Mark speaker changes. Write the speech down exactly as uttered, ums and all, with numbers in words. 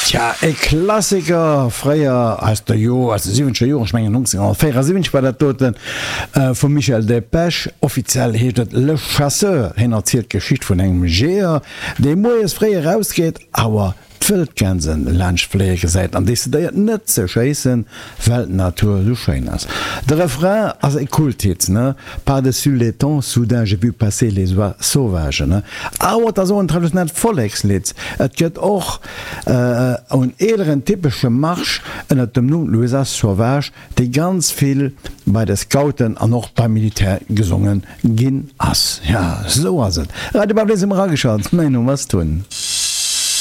Speaker 1: Tja, e Klassiker fréier aus de Joer, aus de siwwenzeger Joren, ech mengen nonzénhonnertvéierasiwwenzeg war dat doten, vum Michel Delpech. Offiziell heescht et Le Chasseur. Hien erzielt d'Geschicht vun engem Jeeër, dee moies fréi erausgeet, awer d'Wëldgänsen laanscht fléie gesäit an decidéiert net ze schéissen, well d'Natur esou schéin ass. De Refrain ass e Kulthit, ne? Par-dessus l'étang, soudain j'ai vu passer les oies sauvages, ne? Awer et ass och en traditionellt Vollekslidd. Et gëtt och en eeleren typesche Marsch ënnert dem Numm L'oise sauvage, dee ganz vill bei de Scouten an och beim Militär gesonge ginn ass. Jo, esou ass et. Radio Baublé si mer ageschalt. Mäin Numm ass Tun.